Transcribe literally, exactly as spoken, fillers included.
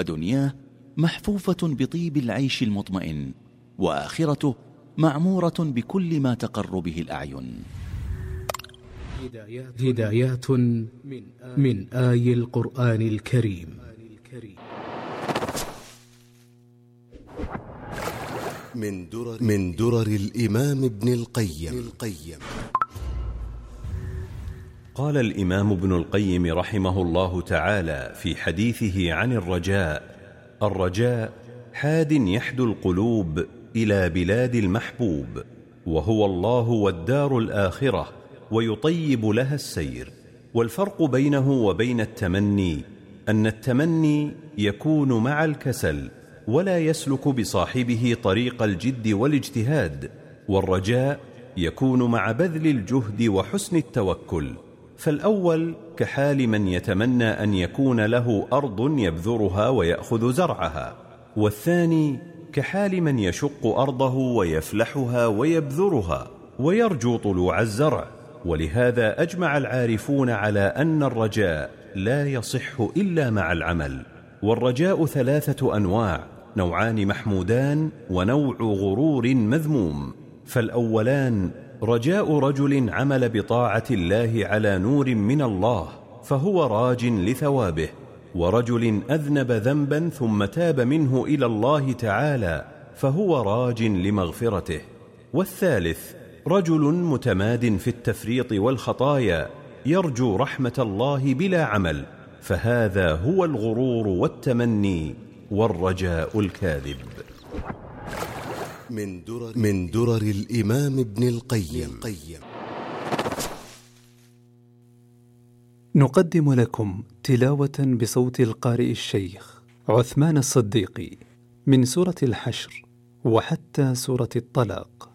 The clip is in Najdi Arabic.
ودنياه محفوفة بطيب العيش المطمئن، وآخرته معمورة بكل ما تقر به الأعين. هدايات من آي القرآن الكريم. من درر, من درر الإمام ابن القيم. قال الإمام ابن القيم رحمه الله تعالى في حديثه عن الرجاء: الرجاء حاد يحدو القلوب إلى بلاد المحبوب، وهو الله والدار الآخرة، ويطيب لها السير. والفرق بينه وبين التمني أن التمني يكون مع الكسل ولا يسلك بصاحبه طريق الجد والاجتهاد، والرجاء يكون مع بذل الجهد وحسن التوكل. فالأول كحال من يتمنى أن يكون له أرض يبذرها ويأخذ زرعها، والثاني كحال من يشق أرضه ويفلحها ويبذرها ويرجو طلوع الزرع. ولهذا أجمع العارفون على أن الرجاء لا يصح إلا مع العمل. والرجاء ثلاثة أنواع: نوعان محمودان ونوع غرور مذموم. فالأولان رجاء رجل عمل بطاعة الله على نور من الله فهو راج لثوابه، ورجل أذنب ذنبا ثم تاب منه إلى الله تعالى فهو راج لمغفرته. والثالث رجل متماد في التفريط والخطايا يرجو رحمة الله بلا عمل، فهذا هو الغرور والتمني والرجاء الكاذب. من درر, من درر الإمام ابن القيم. نقدم لكم تلاوة بصوت القارئ الشيخ عثمان الصديقي من سورة الحشر وحتى سورة الطلاق.